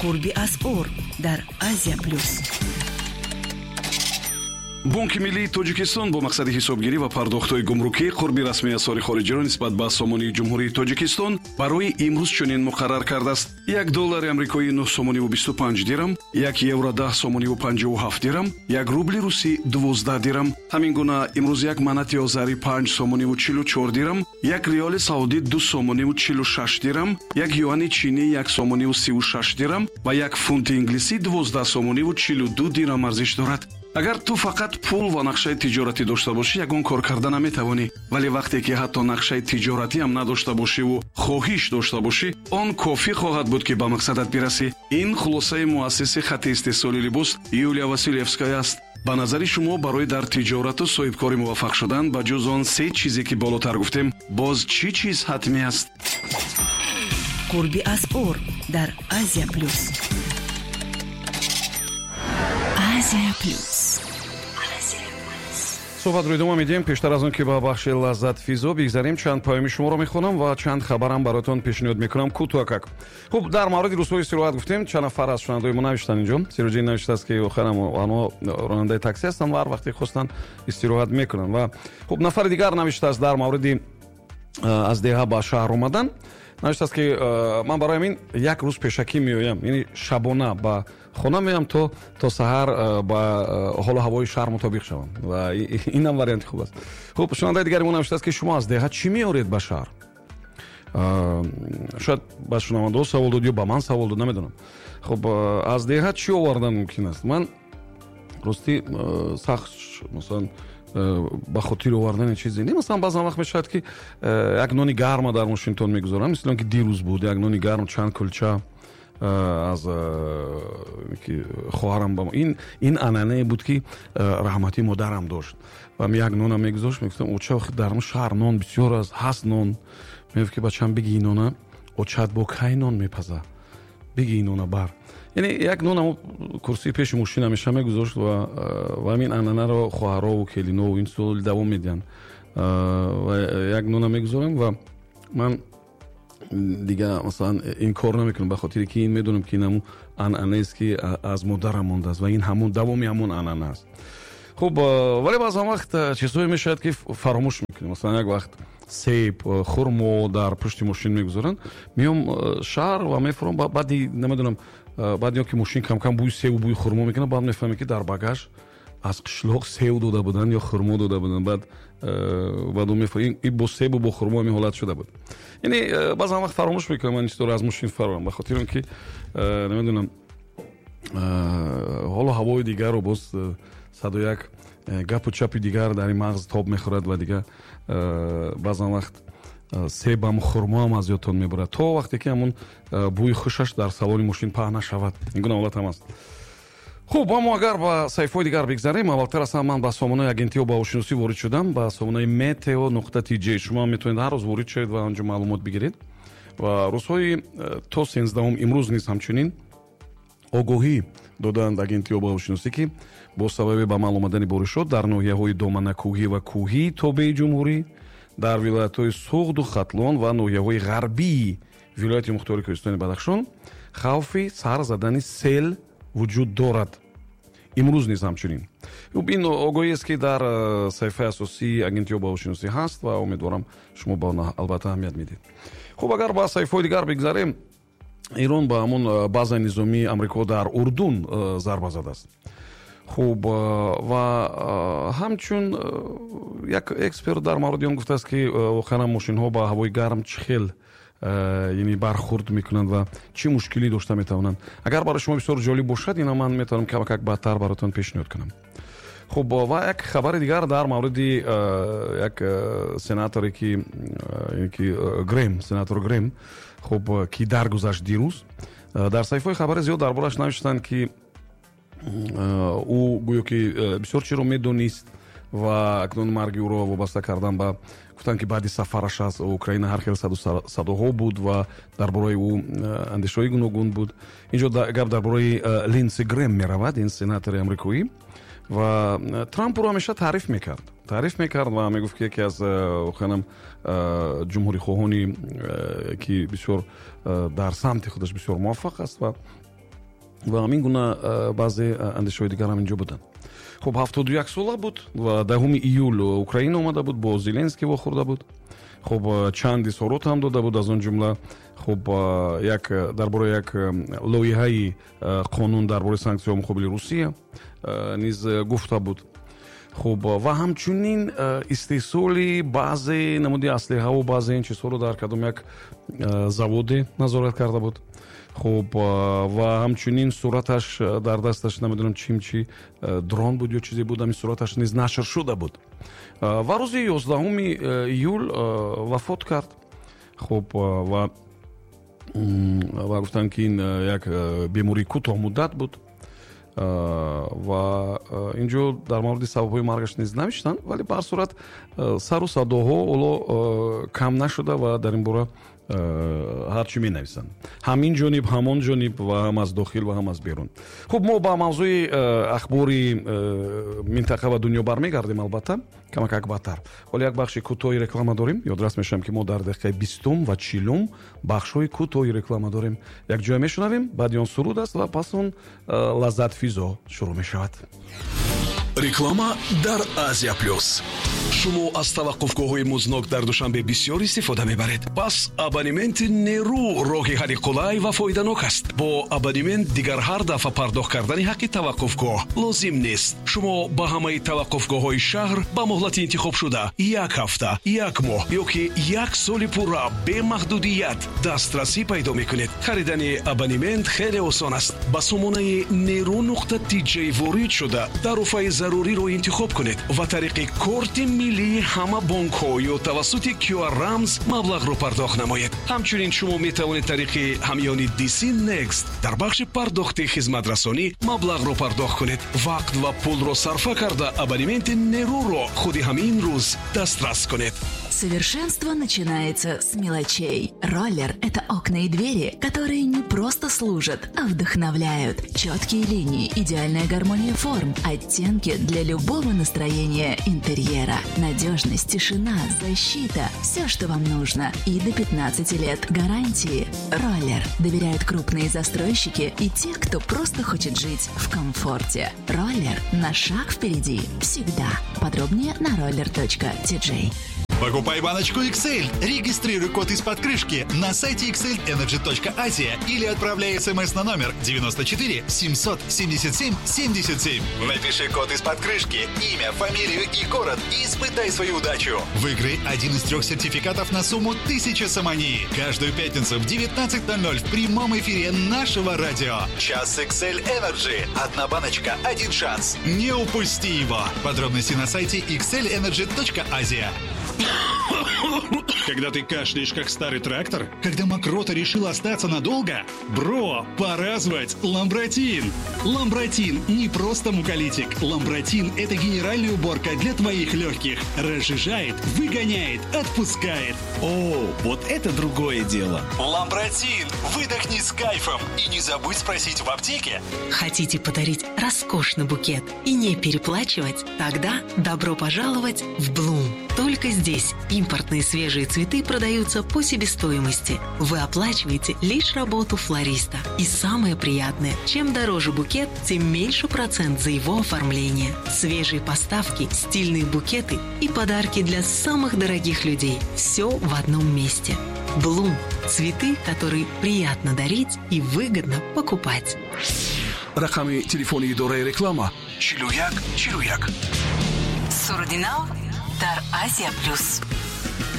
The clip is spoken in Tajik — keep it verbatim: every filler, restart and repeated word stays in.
Қурби асъор дар Азия Плюс. Бонки миллии Тоҷикистон бо мақсади ҳисобгирӣ ва пардохтҳои гумрукӣ қурби расмии асъори хориҷиро нисбат ба сомонии Ҷумҳурии Тоҷикистон барои имрӯз чунин муқаррар кардааст: як доллари амрикоӣ нӯҳ сомониву бисту панҷ дирам, як евро даҳ сомониву панҷоҳу ҳафт дирам, як рубли русӣ дувоздаҳ дирам. Ҳамин гуна имрӯз як манати озарӣ панҷ сомониву чилу чор дирам, як риёли саудӣ ду сомониву чилу шаш дирам, як юани чинӣ як сомониву сиву шаш дирам ва як фунти инглисӣ дувоздаҳ сомониву чилу ду дирам арзиш дорад. Агар ту фақат пул ва нақшаи тиҷоратӣ дошта бошӣ, ягон кор карда наметавонӣ. Вале вақте ки ҳатто нақшаи тиҷоратӣ ҳам надошта бошиву хоҳиш дошта бошӣ, он кофӣ хоҳад буд, ки ба мақсадат бирасӣ. Ин хулосаи муассиси хатти истеҳсоли либос Юлия Василевская аст. Ба назари шумо, барои дар тиҷорату соҳибкорӣ муваффақ шудан, ба ҷуз он се чизе, ки болотар гуфтем, боз чӣ чиз ҳатмӣ аст? Қурби асъор дар Азия Плюс. Азия Плюс. Суҳбатро идома медиҳем. Пештар аз он ки ба бахши лаззатфизо бигзарем, чанд паёми шуморо мехонам ва чанд хабарам бароятон пешниҳод мекунам кӯтоҳакак. Хуб, дар мавриди рӯзҳои истироҳат гуфтем, чанд нафар аз шунавандаои мо навиштанд инҷо. Сироҷиддин навиштааст, ки охирам онҳо ронандаи такси ҳастанд ва ҳар вақте хостанд, истироҳат мекунанд. Ва хуб, нафари дигар навиштааст дар мавриди аз деҳа ба шаҳр омадан. Навиштааст, ки ман барои ҳамин як рӯз пешакӣ меоям, яъне шабона ба хона меоям, то то саҳар ба ҳолу ҳавои шаҳр мутобиқ шавам. Ва инам варианти хуб аст. Хуб, шунавандаи дигари мо навиштааст, ки шумо аз деҳа чӣ меоред ба шаҳр? Шояд ба шунавандаҳо савол дод ё ба ман савол дод, намедонам. Хуб, аз деҳа чӣ овардан мумкин аст? Ман ростӣ сахт, масалан, ба хотири овардани чизе не. Масалан, баъзан вақт мешавад, ки як нони гарма дар мошинтон мегузорам, мисли он ки дирӯз буд, як нони гарм, чанд кулча аз ки хоҳарам ба ин ин анъанае буд, ки раҳматии модарам дошт, ва як нона мегузошт. Мегуфтам: «Оча, дар шаҳр нон бисёр аст, ҳаст нон». Мегуфт, ки бачам, биги нона, очат бо кай нон мепаза, биги нона бар. Яъне як нон ҳамо курсии пеши мошин ҳамеша мегузошт ва ва ҳамин анъанаро хоҳарову келинову ин сол давом медиҳанд. Ва як нона мегузорам ва ман дига, масалан, ин кор намекунам, ба хотире ки ин медонам, ки ин ҳамун анъанаест, ки аз модарам мондааст, ва ин ҳамун давоми ҳамун анъана аст. Хуб, вале баъзан вақт чизҳое мешавад, ки фаромӯш мекунем. Масалан, як вақт себ, хурмо дар пушти мошин мегузоранд, меом шаҳр ва мефурам, баъди, намедонам, баъди он ки мошин камкам бӯи себу бӯи хурмо мекунад, баъд мефаҳмем, ки дар багаж аз қишлоқ сев дода буданд ё хурмо дода буданд. Баъд баъд ин бо себу бо хурмо ҳамин ҳолат шуда буд. Яъне баъзан вақт фаромӯш мекунам ман чизҳоро аз мошин фарорам, ба хотири он ки, намедонам, ҳоло ҳавои дигарро, боз саду як гапу чапи дигар дар ин мағз тоб мехӯрад ва дигар баъзан вақт себам, хурмоам аз ёдтон мебурад, то вақте ки ҳамун бӯи хушаш дар салони мошин паҳн нашавад. Ин гуна ҳолат ҳам аст. Хуб, аммо агар ба саҳифаҳои дигар бигзарем, аввалтар аз ҳама ман ба сомонаи агентиҳо обҳавошиносӣ ворид шудам, ба сомонаи meteo нуқта T J. Шумо метавонед ҳар рӯз ворид шавед ва онҷо маълумот бигиред. Ва рӯзҳои то сенздаҳум, имрӯз низ ҳамчунин огоҳӣ додаанд агентии обҳавошиносӣ, ки бо сабаби ба амал омадани боришот дар ноҳияҳои доманакӯҳӣ ва кӯҳии тобеи ҷумҳурӣ, дар вилоятҳои Суғду Хатлон ва ноҳияҳои ғарбии вилояти мухтори Кӯҳистони Бадахшон хавфи сар задани сел вуҷуд дорад. Имрӯз низ ҳамчунин. Ин огоҳиест, ки дар э, саҳифаи асосии агентии обҳавошиносӣ ҳаст, ва умедворам, шумо ба он албатта аҳамият медиҳед. Хуб, агар ба саҳифаҳои дигар бигзарем, Эрон ба ҳамон э, базаи низомии Амрико дар Урдун э, зарба задааст. Хуб, ва ҳамчун як эксперт дар мавриди он гуфтааст, ки воқеан мошинҳо ба ҳавои гарм чӣ хел, яъне, бархурд мекунанд ва чӣ мушкилӣ дошта метавонанд. Агар барои шумо бисёр ҷолиб бошад, ина ман метавонам камакак баъдтар бароятон пешниҳод кунам. Хуб, ва як хабари дигар дар мавриди як сенаторе, ки ки Грем, сенатор Грем, хуб, ки даргузашт дирӯз. Дар саҳифаҳои хабари зиёд дар борааш навиштанд, ки ӯ гӯё ки бисёр чиро медонист ва акнун марги ӯро вобаста кардан ба, гуфтанд, ки баъди сафараш аз Украина ҳар хел садоҳо буд ва дар бораи ӯ андешаҳои гуногун буд. Инҷо гап дар бораи Линдси Грем меравад, ин сенатори амрикоӣ. Ва Трамп ӯро ҳамеша таъриф мекард таъриф мекард ва мегуфт, ки яке аз воқеанам ҷумҳурихоҳони, ки бисёр дар самти худаш бисёр муваффақ аст ва Ва ҳамин гуна баъзе андешаҳои дигар ҳам инҷо буданд. Хуб, ҳафтоду як сола буд ва даҳуми июл Украина омада буд, бо Зеленский вохӯрда буд. Хуб, чанд изҳорот ҳам дода буд, аз он ҷумла хуб як дар бораи як лоиҳаи қонун дар бораи санксияҳо муқобили Русия низ гуфта буд. Хуб, ва ҳамчунин истеҳсоли баъзе намуди аслиҳаву баъзе ин чизҳоро дар кадом як заводе назорат карда буд. Хуб, ва ҳамчунин сураташ дар дасташ намедонам чим чи дрон буд ё чизе буд, ҳамин сураташ низ нашр шуда буд. Ва рӯзи ёздаҳуми июл вафот кард. Хуб, ва ва гуфтанд, ки ин як бемории кӯтоҳмуддат буд. Ва инҷо дар мавриди сабабҳои маргаш низ навиштанд, вале ба ҳар сурат сару садоҳо ҳоло кам нашуда ва дар ин бора ҳар чӣ менависанд, ҳам ин ҷониб, ҳам он ҷониб, ва ҳам аз дохил ва ҳам аз берун. Хуб, мо ба мавзӯи ахбори минтақа ва дунё бармегардем, албатта камакак баъдтар. Ҳоло як бахши кӯтоҳи реклама дорем. Ёдрас мешавам, ки мо дар дақиқаи бистум ва чилум бахшҳои кӯтоҳи реклама дорем. Якҷоя мешунавем, баъди он суруд аст ва пас он лаззатфизо шурӯъ мешавад. Реклама дар Азия Плюс. Шумо аз таваққуфгоҳҳои музнок дар Душанбе бисёр истифода мебаред. Пас абонементи Неру роҳи ҳалли қулай ва фоиданок аст. Бо абонемент дигар ҳар дафъа пардохт кардани ҳаққи таваққуфгоҳ лозим нест. Шумо ба ҳамаи таваққуфгоҳҳои шаҳр ба муҳлати интихобшуда як ҳафта, як моҳ ё ки як соли пурра бемаҳдудият дастрасӣ пайдо мекунед. Харидани абонемент хеле осон аст. Ба сомонаи неру нуқта тиҷ ворид шуда тарофаи заруриро интихоб кунед ва тариқи корти миллии ҳама бонкҳо ё тавассути Q R рамз маблағро пардохт намоед. Ҳамчунин шумо метавонед тариқи ҳамёни D C Next дар бахши пардохти хизматрасонӣ маблағро пардохт кунед. Вақт ва пулро сарфа карда абонементи Неруро худи ҳамин рӯз дастрас кунед. Совершенство начинается с мелочей. Роллер – это окна и двери, которые не просто служат, а вдохновляют. Четкие линии, идеальная гармония форм, оттенки для любого настроения интерьера. Надежность, тишина, защита – все, что вам нужно. И до пятнадцати лет гарантии. Роллер доверяют крупные застройщики и те, кто просто хочет жить в комфорте. Роллер на шаг впереди всегда. Подробнее на роллер точка ти джей. Покупай баночку икс эль, регистрируй код из-под крышки на сайте икс эль энерджи точка азия или отправляй смс на номер девяносто четыре семьсот семьдесят семь семьдесят семь. Напиши код из-под крышки, имя, фамилию и город и испытай свою удачу. Выиграй один из трех сертификатов на сумму тысяча сомони. Каждую пятницу в девятнадцать ноль ноль в прямом эфире нашего радио. Час икс эль Energy. Одна баночка, один шанс. Не упусти его. Подробности на сайте икс эль энерджи точка азия. Когда ты кашляешь, как старый трактор? Когда мокрота решила остаться надолго? Бро, пора звать Ламбратин! Ламбратин не просто муколитик. Ламбратин – это генеральная уборка для твоих легких. Разжижает, выгоняет, отпускает. О, вот это другое дело. Ламбратин! Выдохни с кайфом и не забудь спросить в аптеке. Хотите подарить роскошный букет и не переплачивать? Тогда добро пожаловать в Блум. Только здесь импортные свежие цветы продаются по себестоимости. Вы оплачиваете лишь работу флориста. И самое приятное, чем дороже букет, тем меньше процент за его оформление. Свежие поставки, стильные букеты и подарки для самых дорогих людей. Все в одном месте. Блум. Цветы, которые приятно дарить и выгодно покупать. Рақами телефони идораи реклама чилу як чилу як. Сурудинав дар Азия Плюс.